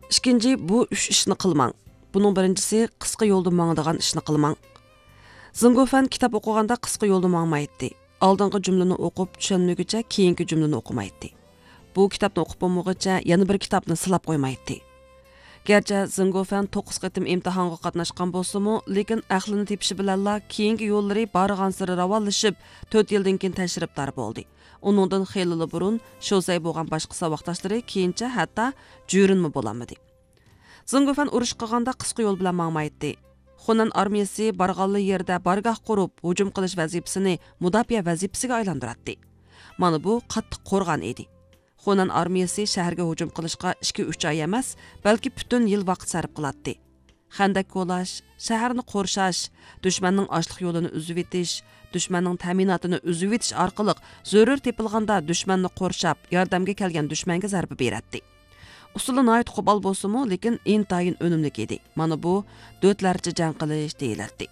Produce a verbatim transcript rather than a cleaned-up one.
ئىككىنچى، بۇ ئۈچ ئىشنى قىلماڭ. بۇنىڭ بىرىنچىسى، قىسقا يولدا ماڭىدىغان ئىشنى قىلماڭ. زېڭگوفەن كىتاب ئوقۇغاندا قىسقا يولدا ماڭمايتتى. ئالدىنقى جۈملىنى ئوقۇپ چۈشەنمىگۈچە كېيىنكى جۈملىنى ئوقۇمايتتى. بۇ كىتابنى ئوقۇپ بولمىغۇچە يەنە بىر كىتابنى سىلاپ قويمايتتى. گەرچە زېڭگوفەن توققۇز قېتىم ئىمتىھانغا قاتناشقان بولسىمۇ، لېكىن ئەقلىنى تېپىشى بىلەنلا كېيىنكى يوللىرى بارغانسېرى راۋانلىشىپ، تۆت يىلدىن كېيىن تەشرىپدار بولدى. ئۇنىڭدىن خېلىلا بۇرۇن شوسەي بولغان باشقا ساۋاقداشلىرى كېيىنچە ھەتتا جۈرۈنمۇ بولالمىدى. زېڭگوفەن ئۇرۇش قىلغاندا قىسقا يول بىلەن ماڭمايتتى. خۇنەن ئارمىيىسى بارغانلا يېرىدە بارگاھ قۇرۇپ، ھۇجۇم قىلىش ۋەزىپىسىنى مۇداپىئە ۋەزىپىسىگە ئايلاندۇراتتى. مانا بۇ قاتتىق قورغان ئىدى. خۇنەن ئارمىيىسى شەھەرگە ھۇجۇم قىلىشقا ئىككى-ئۈچ ئاي ئەمەس، بەلكى پۈتۈن يىل ۋاقىت سەرپ قىلاتتى. خەندەك كولاش، شەھەرنى قورشاش، دۈشمەننىڭ ئاشلىق يولىنى ئۈزۈۋېتىش، دۈشمەننىڭ تەمىناتىنى ئۈزۈۋېتىش ئارقىلىق زۆرۈر تېپىلغاندا دۈشمەننى قورشاپ، ياردەمگە كەلگەن دۈشمەنگە زەربە بېرەتتى. ئۇسۇلى ناھايىتى قوپال بولسىمۇ، لېكىن ئىنتايىن ئۈنۈملۈك ئىدى. مانا بۇ دۆتلەرچە جەڭ قىلىش دېيىلەتتى.